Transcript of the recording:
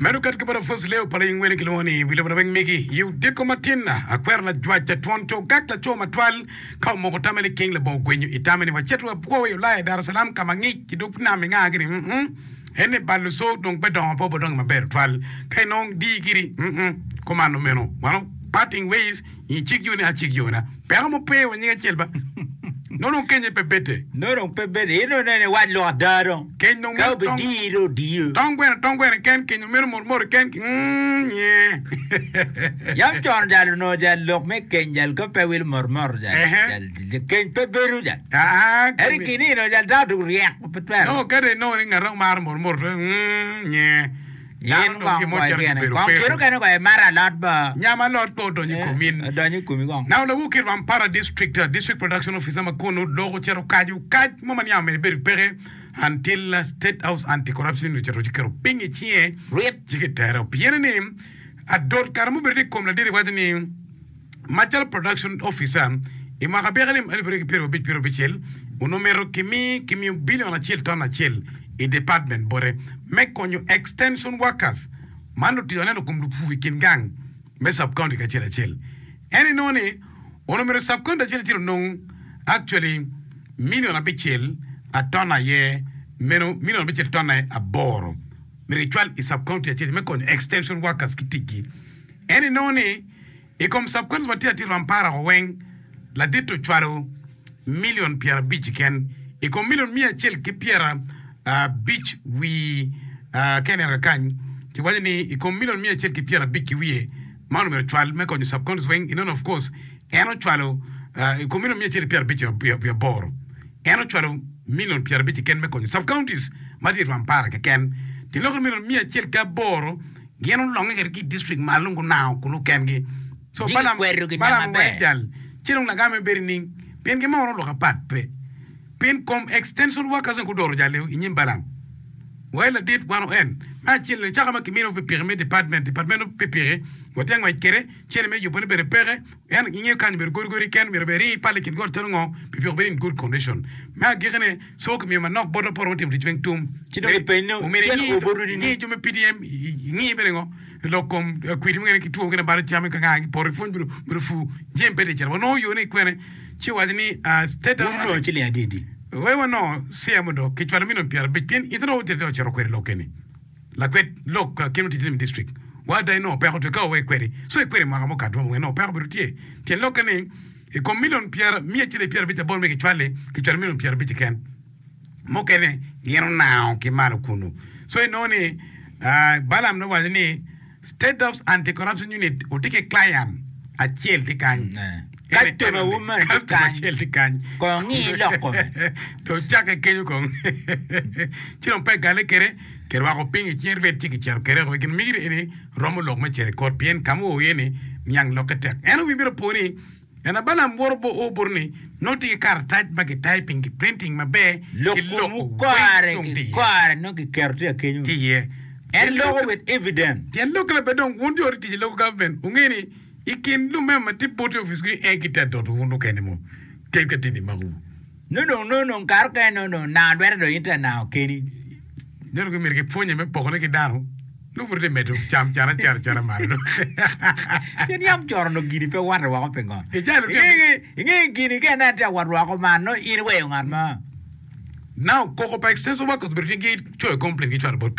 Meno ket ki bot Apwoc Leo pa Laying Wele kilwongo ni Wi Lobo Laweng Megi i odiko matin. Akwero lajwac twon co gak laco matwal ka omoko tamme liking labongo gwenyo i tamme ni wacit wakwo i Ulaya i Dar es Salaam ka ma ngic ki dog nam inga gini mm en ni bal luco dong pe dongo pe obodongo maber tutwal ka inong dii giri mm kumano meno wano parting ways I cik yoni acik yona. Peko mo pe wa nying acel ba. Nongo dong kenye pe bete. Nongo dong pe bete. In dong ineno iwac lok ada dong. Keny dong Ka meno tong. obidiyi dong odiyo. Tong gweno tong gweno ken kenyo meno mot mot ken ki mm nye. Yam con jal onongo jal lok me keny jal ka pe wil mot mot jal Ehe. jal keny pe bedo jal. Aa Ento i kinino jal dano dong ryek pe twero. Nongo kadi inongo ni ngat maro mot mot mm nye. In kong go igene kong kit okene kong imato alot bo. Nyam alot pe odonyo i komi in. Odonyo i komi kong. Now lawur ki Rwampara district, district production officer ma kunu lok ocito kaco kac mo ma niang omyero ibed peke until state house anti corruption unit ocito ci keto piny i cinge Rip. ci kitere pien ni adot kare mubedo tye i kom ladit waco ni Macalo Production Officer, i mwaka byek alip 2025 76, onongo myero kimi kimiyo bilion acel ton acel i department bote me konyo extension workers, man lutic aneno kom lupur i kin gang me sub county ki acel acel. En inongo ni onongo myero sub county acel acel onong actually milion abicel a ton aye meno milion abicel tonne aboro myero kicwal i sub county acel me konyo extension workers ki ticgi. En inongo ni i kom subcounties ma tye atir Rwampara o weng, ladit ocwalo million 50 keken i kom million 150 wi ka ineno kakany kiwaco ni i kom million 150 ki wiye man omyero ocwal me konyo subcounties weng inongo of course en ocwalo i kom million 158 en ocwalo million 50 keken me konyo subcounties ma tye i Rwampara keken tiloko ni million 108 Gin olonge kwede ki i distrik malo nongo gunango kunu kengi. So Ci Balaam gikwedo ginam Balaam maber. owaco jal, ci dong lagame bedo nining? Pien gin ma wano lok apat pe. Pien kom extension workers weng gudoro jal-li i nyim Balaam. Wai ladit, wano en. Me acel-li, caka ma kiminiwa pikipiki me department, department pikipiki, watye angwec kwede, cene me yubone bene peke, En ingeyo kany obedo godi godi keken myero bene ring ipale i kin got calo ngo pi piko bedo in good condition. Me agikine so kimiyo manok botwa pe waromo timo tic weng tum. Ci dong ipeny ni Omyero cen ingi oboto nining? ingi jo me PDM ingi bene ngo lok kom kwidi mukene ki two mukene balo cam ka nga ki poto ipwony bedo bedo pur jami pe tye cito wanongo yo ne kwene ci owaco ni state Wun wunongo ciling adi adi? Wai wanongo CM do kicwalo million 50 pien itino ocito ocito kwede lok eni. Lakwed lok kit ma ticce me district wa ada inongo peko tye ka wa ikwedi so ikwedi mwaka mukato romo inongo peko obedo tye tyen lokke ni i kom million pyera miya acel ki 58 me kicwali kicwalo million 50 keken mukene gin onango ki malo kunu so inongo ni Balaam ne owaco ni State House Anti Corruption Unit otye ki client acel tye kany Customer wu meno tye Customer kany. acel tye kany. Kong ngi lok kome. Dong cakke kenyo kong. Ci dong pe gale kede, kirwako piny i cing ret ci kicito kede woko. Gin migire eni romo lok me cito i kot pien ka ma oo iye ni niang lokke tek. En wi myero opo ni en a Balaam woto bo o bote ni nongo tye ki karatac ma ki typing ki printing maber Lok ki komwu loko weng kore dong ki tye iye. kore nongo kiketo tye akenyo. Tye iye. En loko with evidence. Tyen lokke labed dong wun jo tic i local government wunge ni I kin lumema ma tye boti i opic-gi en gitye adoto wun mukene mo kadi ka tye ni makowu. Nongo dong nongo dong kare okene nongo dong nango lwete dong in tye anango keni. Nongo dong myero gipwonye me pokone ki dano nongo pud tye medo cam can acel acela malo dong. Pien yam con onongo gini pe watte woko pingo? Icalo tye Inge inge gini ka ineno tye ka wot woko man nongo in iweyo ngat mo. Now koko pa extension workers obedo tye gicoyo complaint gicwalo bot.